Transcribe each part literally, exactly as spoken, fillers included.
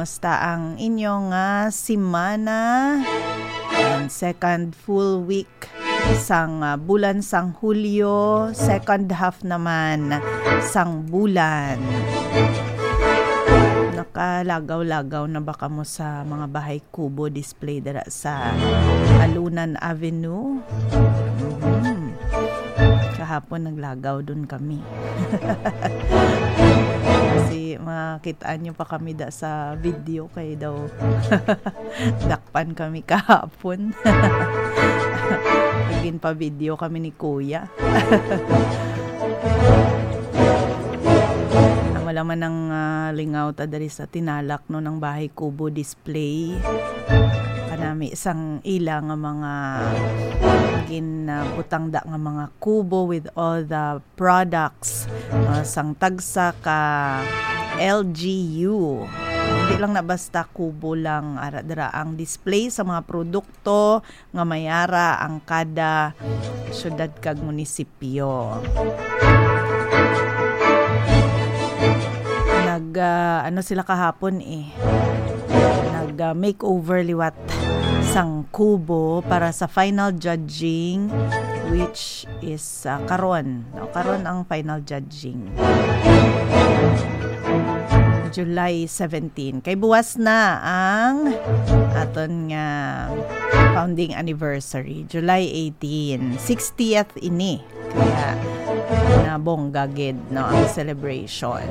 Basta ang inyo nga semana, ang second full week sang, ah, bulan sang Hulyo, second half naman sang bulan. Nakalagaw-lagaw na ba kamo sa mga bahay kubo display dira sa Alunan Avenue? Mhm. Kahapon naglagaw dun kami. Kasi makita nyo pa kami da sa video kay daw dakpan kami kahapon. Ginpa-video kami ni Kuya. Amo lang man ang, ah, lingaw ta diri sa tinalak, no, ng bahay kubo display. Kanami sang ila nga mga ginabutang da nga mga kubo with all the products, uh, sang tagsa ka L G U. Hindi lang na basta kubo lang, ara dira ang display sa mga produkto nga may ara ang kada syudad kag munisipyo. Nag, ah, ano sila kahapon eh. Nag, ah, makeover liwat sang kubo para sa final judging, which is, ah, karon, no? Karon ang final judging. July seventeen. Kay buwas na ang aton nga founding anniversary, July eighteen. Sixtieth ini. Kaya nabongga gid, no, ang celebration.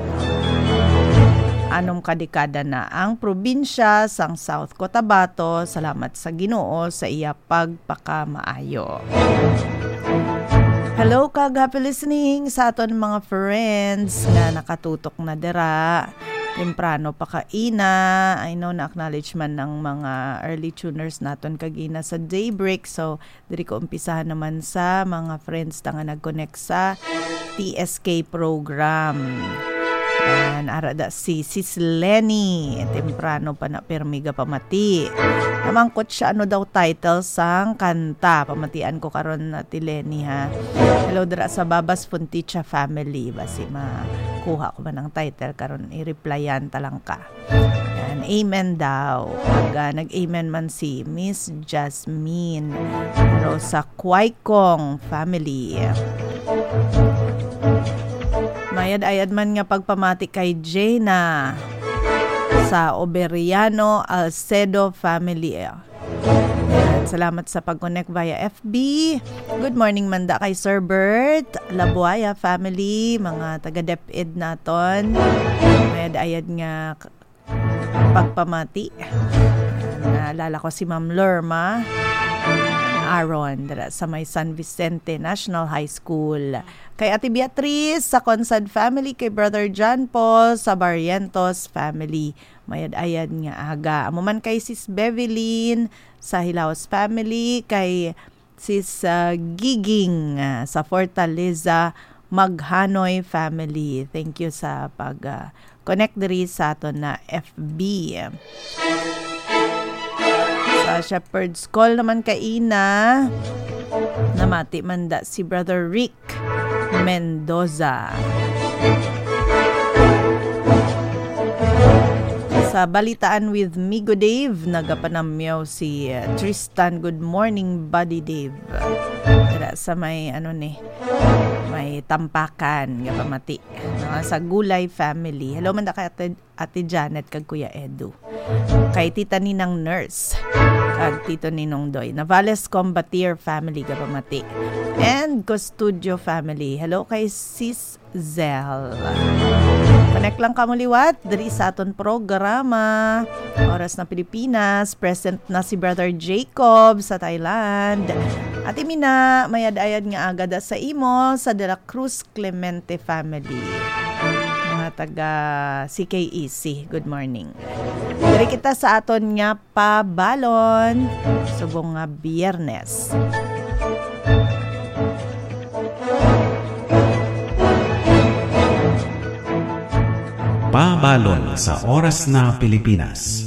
Anom ka dekada na ang probinsya sang South Cotabato, salamat sa Ginoo sa iya pagpakamaayo. Hello kag happy listening sa aton mga friends nga nakatutok na dira. Temprano pa kaina. I know na-acknowledge man ng mga early tuners naton kagina sa Daybreak. So, diri ko umpisahan naman sa mga friends ta nga nag-connect sa T S K program. Yan, ara da si Sis Lenny. Temprano pa na, pirmi ga pamati. Namangkot siya, ano daw title sang kanta. Pamatian ko karon, Ate Lenny, ha. Hello, dira sa Babas Funticha family. Basi makuha ko man ang title karon, i-replyan ta lang ka. Yan, amen daw. Pag, ah, nag-amen man si Miss Jasmine. Pero sa Kwaikong family. Mayad-ayad man nga pagpamati kay Jaina sa Oberiano Alcedo family. Yan. Salamat sa pag-connect via F B. Good morning man da kay Sir Bert, Labuaya family, mga taga DepEd naton. Mayad-ayad nga k-, pagpamati. Naalala ko si Ma'am Lorma Aaron dira sa may San Vicente National High School. Kay Ate Beatrice sa Consad family, kay Brother John Paul sa Barrientos family. Mayad-ayad nga aga. Amo man kay Sis Bevelyn sa Hilaos family, kay Sis, ah, Giging, ah, sa Fortaleza Maghanoy family. Thank you sa pag, ah, connect diri sa aton na F B. Sa Shepherd's Call naman kaina, namati man da si Brother Rick Mendoza. Sa Balitaan with Migo Dave, nagapanamyaw si, uh, Tristan. Good morning, Buddy Dave. Dira sa may, ano ni, may Tampakan, nga pamati. No, sa Gulay family. Hello man da kay Ate, Ate Janet kag Kuya Edu. Kay Tita Ninang Nurse, kag Tito Ninong Doy. Navales Combatier family, gapamati. And Custodio family. Hello kay Sis Zel. Connect lang kamo liwat diri sa aton programa. Oras na Pilipinas, present na si Brother Jacob sa Thailand. Ate Mina, mayad-ayad nga aga da sa imo sa De La Cruz Clemente family. Mga taga C K E C, good morning. Diri kita sa aton nga pabalon subong nga Biyernes. Pabalon sa Oras na Pilipinas.